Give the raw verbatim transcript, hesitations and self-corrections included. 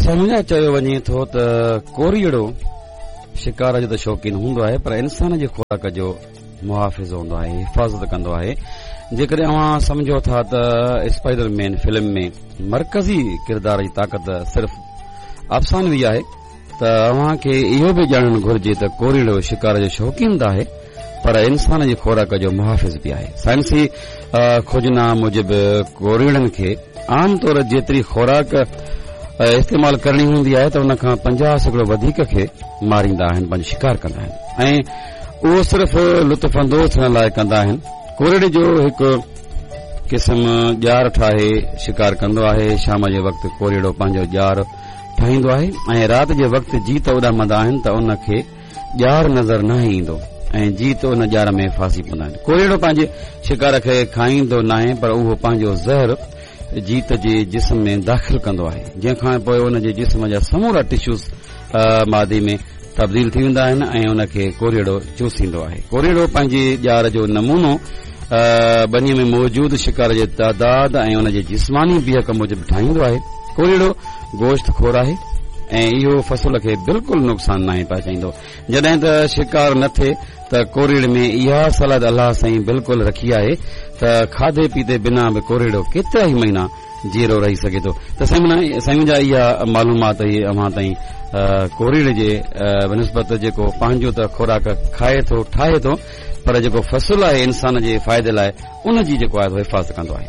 سمجهه چيو وڃي ٿو ته ڪوريئڙو شڪار جو ته شوقين هوندو آهي، پر انسان جي خوراڪ جو محافظ هوندو آهي، حفاظت ڪندو آهي. جيڪڏهن اوهان سمجهو ٿا ته اسپائيڊر مين فلم ۾ مرڪزي ڪردار جي طاقت صرف افسانوي آهي، ته اوهان کي اهو به ڄاڻڻ گهرجي ته ڪوريئڙو شڪار جو شوقين ته آهي، پر انسان جي خوراڪ جو محافظ به آهي. سائنسي کوجنا موجب ڪوريئڙن کي عام طور جيتري خوراڪ استعمال ڪرڻي هوندي آهي ته ان کان پنجاهه سيڪڙو وڌيڪ کي ماريندا آهن، پنهنجو شڪار ڪندا آهن، ۽ اهو صرف لطف اندوز ٿيڻ لاء ڪندا آهن. ڪوريئڙي جو هڪ قسم ڄار ٺاهي شڪار ڪندو آهي. شام جي وقت ڪوريئڙو پنهنجو ڄار ٺاهيندو آهي ۽ رات جي وقت جيت اڏامندا آهن ته ان کي ڄار نظر ناهي ايندو ۽ جيت ان ڄار ۾ ڦاسي پوندا آهن. ڪوريئڙو پنهنجي شڪار کي کائيندو ناهي، پر اهو پنهنجو زهر جيت جي جسم ۾ داخل ڪندو آهي، جنهن کان پوء ان جي جسم جا سمورا ٽشوز مادي ۾ تبديل ٿي ويندا آهن ۽ ان کي ڪوريئڙو چوسيندو آهي. ڪوريئڙو پنهنجي ڄار جو نمونو ٻنيء ۾ موجود شڪار جي تعداد ۽ ان جي جسماني بيهڪ موجب ٺاهيندو آهي. ڪوريئڙو گوشت خور آهي ۽ اهو فصل کي بلڪل نقصان ناهي پهچائيندو. جڏهن ته شڪار نه ٿئي ته ڪوريئڙي ۾ اها صلاحيت الله سائين بلڪل رکي آهي ته کاڌي پيتي بنا به ڪوريئڙو ڪيترا ئي مهينا جيئرو رهي سگهي ٿو. ته سائين جا اها معلومات هئي اوهان تائين ڪوريئڙي جي بنسبت، جيڪو پنهنجو ته خوراڪ کائي ٿو، ٺاهي ٿو، پر جيڪو فصل آهي انسان جي فائدي لاء، ان جي جيڪو آهي حفاظت ڪندو آهي.